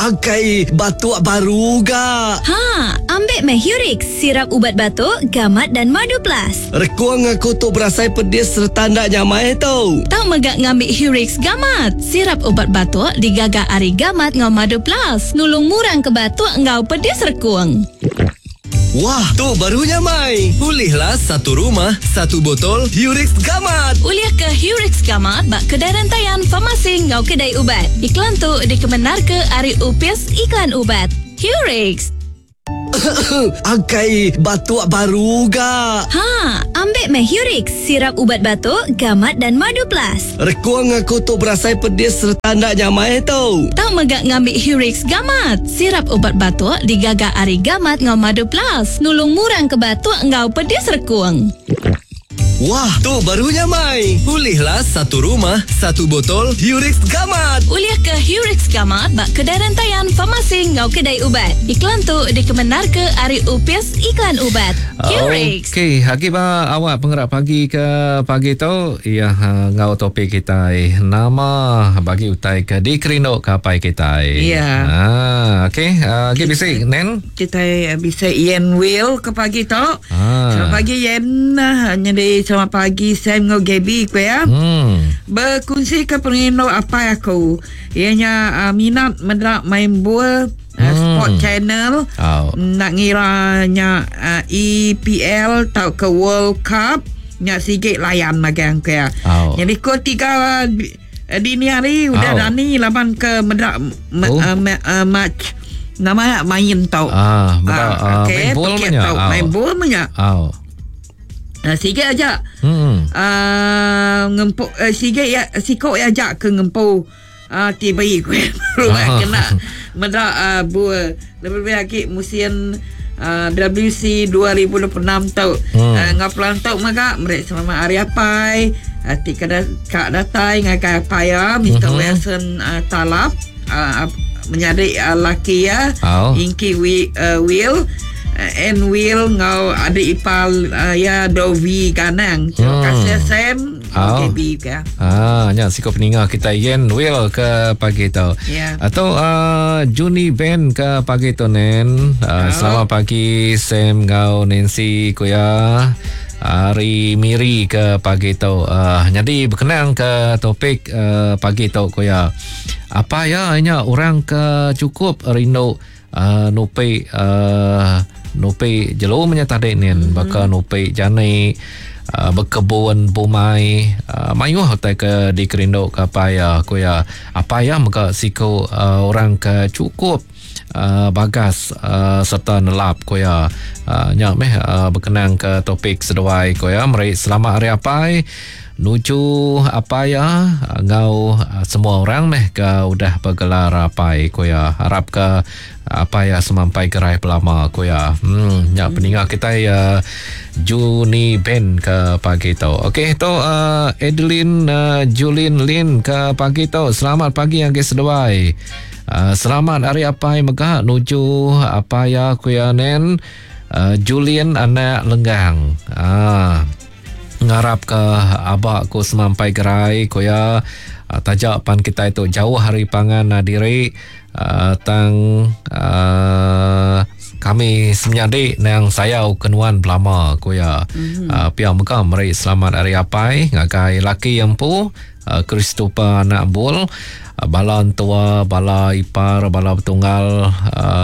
Akai batuk baru ga. Ha, ambik meh Hurix, sirap ubat batuk, gamat dan madu plus. Rekung aku tu berasai pedis sereta enda nyamai tu. Tau mega ngambi Hurix Gamat, sirap ubat batuk digaga ari gamat enggau madu plus, nulung murang ke batuk enggau pedis rekung. Wah, tu baru nyamai. Ulihlah satu rumah, satu botol Hurix Gamat. Ulih ke Hurix Gamat ba kedai rentayan, farmasi enggau kedai ubat. Iklan tu dikemendarka ari Opis Iklan Ubat. Hurix. Akai batuk baru ga. Ha, ambik meh Hurix, sirap ubat batuk, gamat dan madu plus. Rekung aku tu berasai pedis sereta enda nyamai tu. Tau mega ngambi Hurix Gamat, sirap ubat batuk digaga ari gamat enggau madu plus, nulung murang ke batuk enggau pedis rekung. Wah, tu baru nyamai. Ulihlah satu rumah, satu botol Hurix Gamat. Ulih ke Hurix Gamat ba kedai rentayan, farmasi enggau kedai ubat. Iklan tu dikemendarka ari Opis Iklan Ubat. Hurix. Okey, agi ba awak pengerak pagi ke pagi tu iya enggau topik kitai nama bagi utai ke dikerindu ke apai kitai. Ya. Ha, okey, agi bisi Nen? Kitai bisi Yen Will ke pagi tu. Ah. Selamat pagi Yen. Nyadi selamat pagi Sam enggau Gaby ku ya. Hmm. Berkunsi ke pengerindu apai aku. Iya nya uh, minat meda main bul uh, Sport Channel. Oh. Nak ngira nya uh, EPL tauka World Cup nya sigi layan magang ku ya. Oh. Jadi ko tiga dini hari udah Oh. dani laban ke meda me, Oh. uh, me, uh, match nama main tau. Ah, meda, ah, okey, main bol pekit menya. tau. Ah. Main bol menya. Oh. Sige aja. Hmm. Ngempu sige ya siko ya aja ke ngempu TV ku rumah kena meda bul lebih-lebih agi musim WC 2026 tu. Enggau pelan tu mega meri selamat hari apai ti ke ka datai ngagai apai iya Mister Wilson Talap menyadi laki iya Ingki Will Ann Will enggau adik ipar iya Dovi Ganang. Terima kasih Sam enggau Gaby ke. Ah, nya siku peninga kita Yen Will ke pagi tu. Ya. Atau Juni Ben ke pagi tu Nen. Selamat pagi Sam enggau Nancy ku ya. Hari Miri ke pagi tu. Nyadi berkenang ke topik pagi tu ku ya. Apa ya nya orang ke cukup rindu nupi nupi jelu menya tadi nin baka nupi jani bekebun bumai mayuh utai ke dikerindu ke apai ya ku ya. Apai ya mega siku orang ke cukup bagas serta nelap ku ya. Nya meh berkenang ke topik seduai ku ya. Meri selamat hari apai nuju apai ya enggau semua orang meh ke udah bergelar apai ku ya. Harap ke apai ya semampai gerai belama ku ya. Nya peninga kitai Juni Ben ke pagi tu. Okey tu Adeline Julin Lin ke pagi tu. Selamat pagi agi seduai. Selamat hari apai mega nuju apai ya ku ya nen Julin anak Lenggang. Ngarap ke abak ku semampai gerai ku ya. Tajak pan kita itu jauh hari pangan diri tang kami semenyadi nang sayau kenuan belama ku ya. Pia mega meri selamat hari apai ngagai laki empu Christopher anak Bul, bala entua, bala ipar, bala betunggal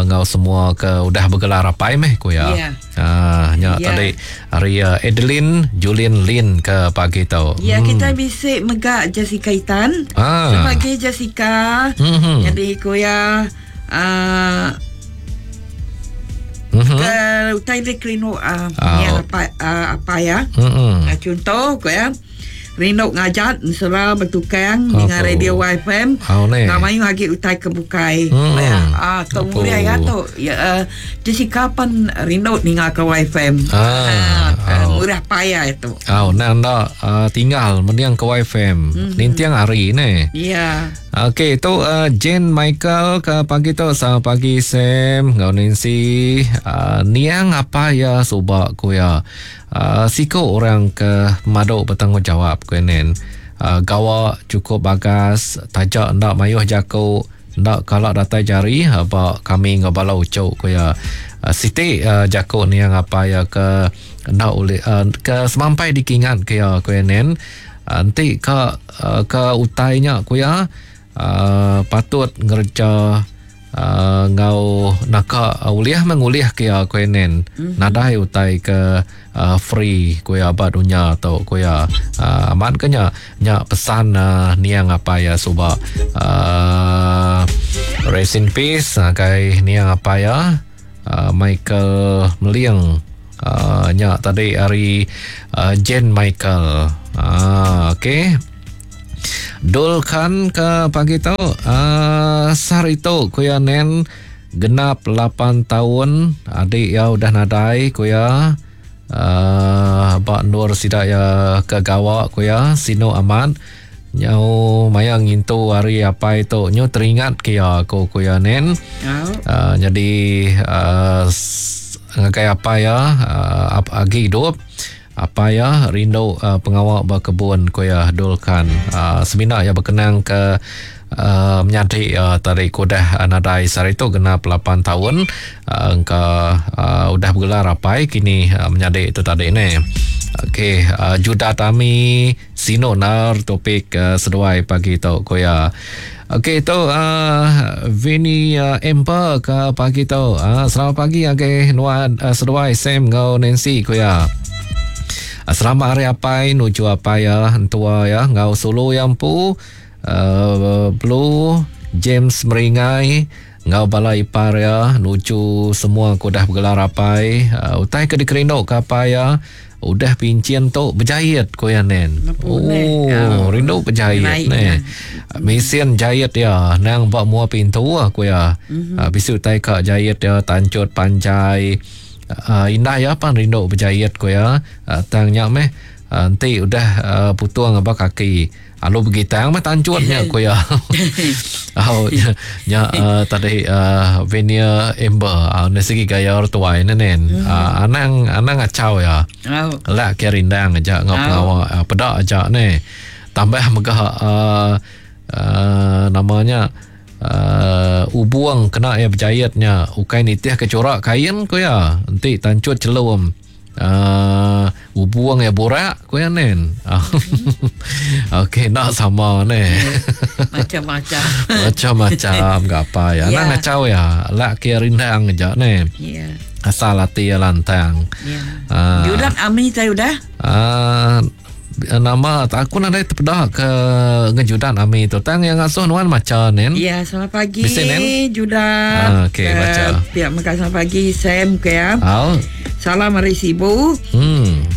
enggau semua ke udah bergelar apai meh ku ya. Yeah. Nya tadi hari Adeline Julin Lin ke pagi tu. Ya, kita bisi mega Jessica Itan. Selamat pagi Jessica. Jadi ku ya ke utai di kelinu apa apa ya. Contoh ku ya. Rindu ngajat mesra bertukang dengan radio YFM. Namanya lagi utai kebukai. Tu mulia ya tu. Ya, Jessica pun rindu ninga ke YFM. Murah payah itu. Nang dak tinggal mendiang ke YFM. Nintiang hari ni. Ya. Okey, tu Jane Michael ke pagi tu. Selamat pagi Sam enggau Nancy. Niang apa ya subak ku ya. Siku orang ke maduk bertanggungjawab ku nen. Gawa cukup bagas, tajak ndak mayuh jaku. Enda kala datai jari ba kami enggau bala uchu ku iya. Siti jaku niang apai iya ke enda ulih ke semampai dikingat ke iya ku iya nen enti ka ke utai nya ku iya patut ngereja enggau naka ulih meh ngulih ke iya ku iya nen. Nadai utai ke free ku iya ba dunya tu ku iya. Amat ke nya nya pesan niang apai iya suba. Rest in peace ngagai niang apai iya Michael Meling nya tadi ari Jane Michael. Okey. Dul Khan ke pagi tu sehari tu ku iya nen genap 8 taun adik iya udah nadai ku iya ba endur sida iya ke gawa ku iya sinu amat nyau maya ngintu hari apai tu nyu teringat ke iya ku ku iya nen. Nyadi ngagai apai iya agi idup apai iya rindu pengawa bekebun ku iya Dul Khan. Semina iya bekenang ke menyadi iya tadi ke udah nadai sehari tu genap 8 taun engka udah begelar apai kini menyadi tu tadi neh. Okey Judah Tami sinu nar topik seduai pagi tu ku iya. Okey tu Vinny Emper ke pagi tu. Selamat pagi ngagai nuan seduai Sam enggau Nancy ku iya. Selamat hari apai nuju apai iya entua iya enggau sulu iya empu Blue James Meringai enggau bala ipar iya nuju semua ke udah begelar apai. Utai ke dikerindu ke apai iya udah pinchin tu bejait ku iya nen. Oh rindu bejait neh. Mesin jait iya nang ba mua pintu ku iya. Bisi utai ka jait iya tanchut panjai. Indai iya pan rindu bejait ku iya. Tang nya meh enti udah putung aba kaki alu begitang meh tanchut nya ku iya. Au nya tadi Venia Amber enda sigi gaya orang tuai ne nen. Anang anang ngachau iya. Lak ke rindang aja enggau pengawa peda aja neh. Tambah mega nama nya. Ubung kena iya bejait nya ukai nitih ke corak kain ku iya enti tanchut chelum ubung iya burak ku iya nen. Okey enda sama neh. Macam-macam. Macam-macam ga apa iya. Anang ngachau iya lak ke rindang aja neh. Asal ati iya lantang. Judat ami tai udah. Nama aku nadai tepeda ke ngejudan ami tu tang yang ngasuh nuan macha nen. Ya, selamat pagi. Bisi nen? Judan. Ah, okey, baca. Pihak mega selamat pagi Sam ke ya. Au. Salam ari Sibu.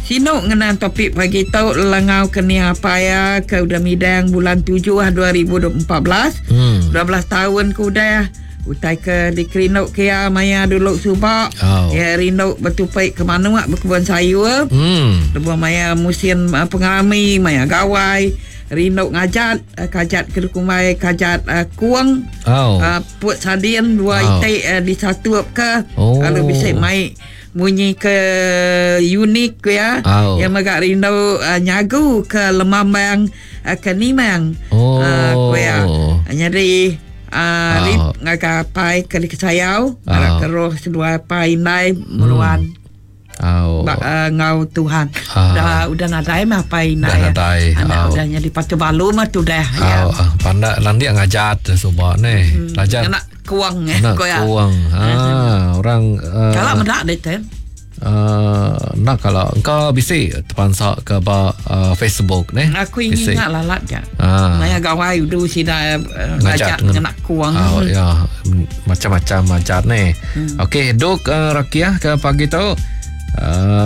Sinu ngenang topik pagi tu lelangau ke ni apai ya ke udah midang bulan 7 2014. 12 tahun ke udah. Utai ke dikerindu ke iya maya dulu suba. Oh. Iya rindu betupi ke manuk bekebun sayur. Lebuh maya musin pengerami, maya gawai, rindu ngajat, kajat ke dikumbai kajat kung. Oh. Put sardin dua Oh. iti disatup ke. Oh. Lalu bisi mai munyi ke unik ku iya. Oh. Iya mega rindu nyagu ke lemambang ke nimang. Oh. Ku iya. Nyadi Oh. Rip ngagai apai ke dikesayau, ngarap ke roh seduai apai indai meruan. Oh. Ba, enggau Tuhan. Udah udah nadai mah apai indai. Udah nadai. Anak Oh. udah nyadi patu balu mah tu dah. Ya. Oh, pandak landik ngajat suba neh. Belajar Kena kuang eh Kena ko ya. kuang. Ha, orang Kala meda deh tem. Nak kalau engkau bisi terpansa ke ba Facebook neh. Aku ingin ingat lalat ja. Maya gawai udu sida ngajat ngena kuang. Oh ya, macam-macam ngajat neh. Okey, duk Rakiah ke pagi tu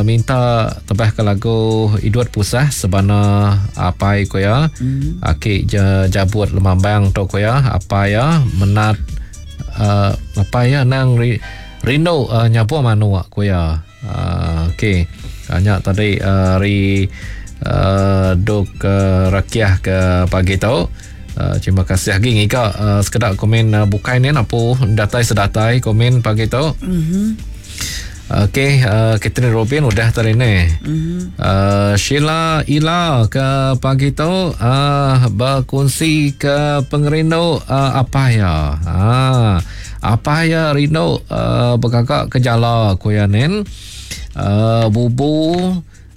minta tebah ke lagu Idut Pusah sebana apai ko ya. Aki jabut lemambang tu ko ya, apai ya menat apai ya nang rindu nyapu manuk ku iya. Okey. Nya tadi ari duk Rakiah ke pagi tu. Terima kasih lagi ngiga sekeda komen bukai ni apu datai sedatai komen pagi tu. Okey, uh, Catherine Robin udah tadi ni. Mm-hmm. Uh, Sheila Ila ke pagi tu uh, berkongsi ke pengerindu uh, apa ya? Ha, apa ya rindu uh, bergagak ke jala ku ya nen. Uh, bubu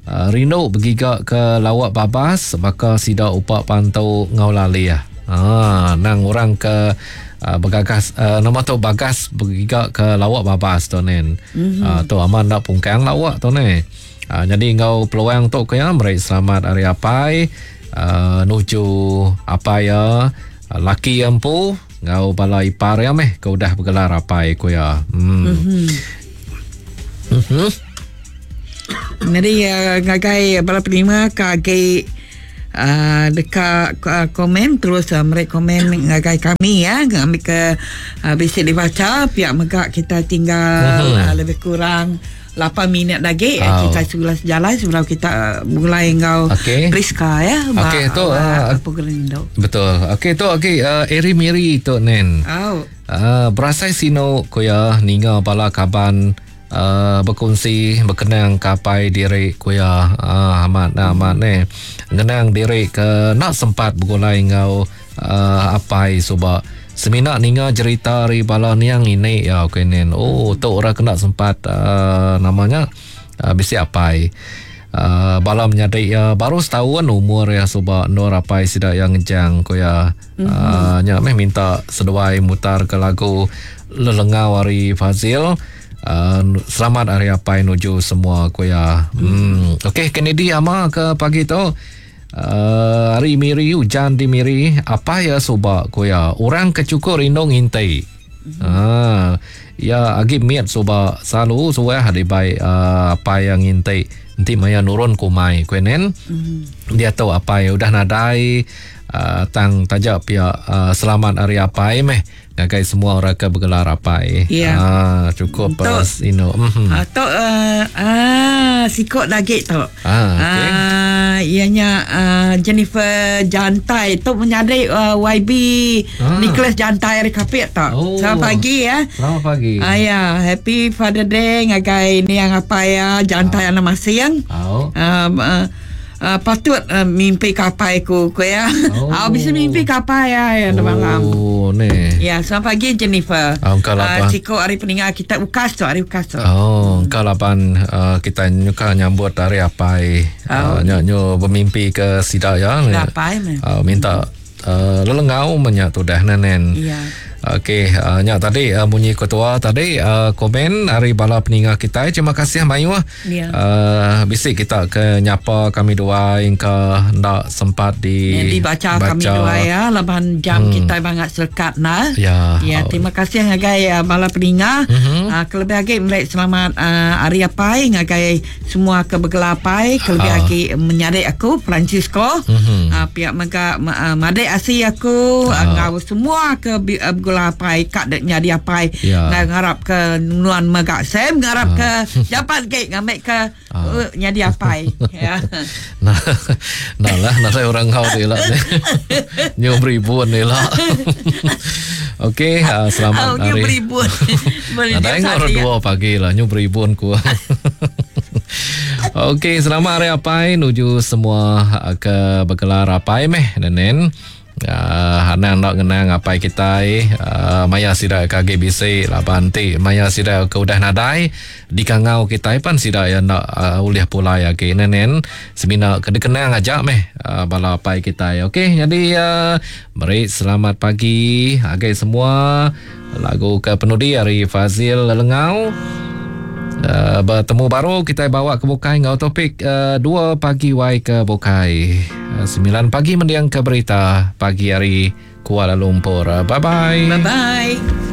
uh, rindu bergiga ke lawak babas baka sida upak pantu ngau lali ah. Ha, nang orang ke uh, bergagas uh, nama tu bagas bergiga ke lawak babas tu nen. Mm-hmm. Uh, tu aman nak pungkang lawak tu ne. Uh, jadi ngau peluang tu ke ya meri selamat hari apai uh, nuju apai ya laki empu ngau bala ipar ya meh ke udah bergelar apai ku ya. Hmm. Mm-hmm. Mm-hmm. Jadi uh, ngagai bala penerima ke agi uh, dekat uh, komen terus uh, mereka komen ngagai kami ya ngambil ke uh, bisi dibaca pihak megak kita tinggal uh-huh. uh, lebih kurang 8 minit lagi oh. kita sebelah sejalan sebelum kita mulai ngau okay. Priska ya okey tu uh, betul okey tu okey uh, Eri Miri tu nen oh. uh, berasai sino ko ya ninga bala kaban Uh, berkongsi berkenang kapai diri ku ya uh, amat nah, amat ni ngenang diri ke nak sempat bergulai ngau uh, apai suba semina ninga cerita ari bala niang ini ya okey nen oh tu orang kena sempat uh, namanya uh, bisi apai uh, bala menyadi ya baru setahun umur ya suba nur apai sida yang ngejang ku ya mm-hmm. uh, nya meh minta seduai mutar ke lagu lelengau ari Fazil. Uh, selamat hari apai nuju semua ku ya. Hmm. Okey Kennedy ama ke pagi tu. Uh, hari Miri hujan di Miri apa ya suba ku ya. Orang kecukur rindu ngintai. Hmm. Uh, ya agi miat suba selalu suah di bai uh, apa yang ngintai. Nanti maya nurun kumai ku nen. Hmm. Dia tahu apa ya udah nadai uh, tang tajak pihak uh, selamat hari apai meh. Ngagai semua orang ke bergelar apai. Ya. Ah, cukup pas ino. Mm-hmm. Atau uh, ah sikok lagi tu. Ah, okay. Ah, ianya uh, Jennifer Jantai tu menyadai uh, YB ah. Nicholas Jantai hari kapit tu. Oh. Selamat pagi ya. Selamat pagi. Ah ya, happy Father Day ngagai ni yang apa ya Jantai ah. Anak masing. Oh. Uh, Uh, patut uh, mimpi kapai ku ku ya. Oh. Oh. bisa mimpi kapai ya ya oh, malam. Oh ni. Ya, selamat pagi Jennifer. Ah, engkau uh, Ciko hari peninggal kita ukas tu hari ukas tu. Oh, engkau lapan uh, kita nyuka nyambut hari apai. Oh. Uh, nyo, nyo bermimpi ke sidak ya. Apai meh. Uh, minta uh, lelengau menyak tu dah nenen. Ya. Okey, uh, nyak tadi uh, bunyi ketua tadi uh, komen hari bala peninggal kita. Terima kasih mayu. Ya. Uh, bisik kita ke nyapa kami dua yang ke ndak sempat di ya, dibaca baca. Kami dua ya laban jam kita bangat selekat nah. Ya. Ya, terima kasih ngagai uh, bala peninggal. Mm-hmm. Uh, kelebih lagi melek selamat uh, hari apai ngagai semua ke bergelapai kelebih uh. lagi menyadik aku Francisco. Mm-hmm. Uh, pihak mega uh, madek asi aku uh. ngau semua ke uh, apai kak dek nyadi apai ya. Ngarap ke nuan megak sem ngarap ke japat ke ngamek ke uh, nyadi apai ya. Nah, nah lah nak orang kau ni lah ni. Nyu beribun ni lah. Okey, uh, selamat oh, hari. Beribun. Ada yang orang dua pagi lah nyu beribun ku. Okey, selamat hari apai nuju semua ke bergelar apai meh nenen. Uh, anang nak ngenang apai kita uh, maya sida kage bisi laban ti maya sida ke udah nadai dikangau kita pan sida ya nak uh, ulih pulai agi nenen semina ke dikenang aja meh uh, bala apai kita. Okey, jadi uh, meri selamat pagi agai semua lagu ke penudi hari Fazil Lelengau. Uh, bertemu baru kita bawa ke Bukai ngau topik 2 pagi wai ke Bukai. Uh, 9 pagi mendiang ke berita pagi hari Kuala Lumpur. Bye bye. Bye bye.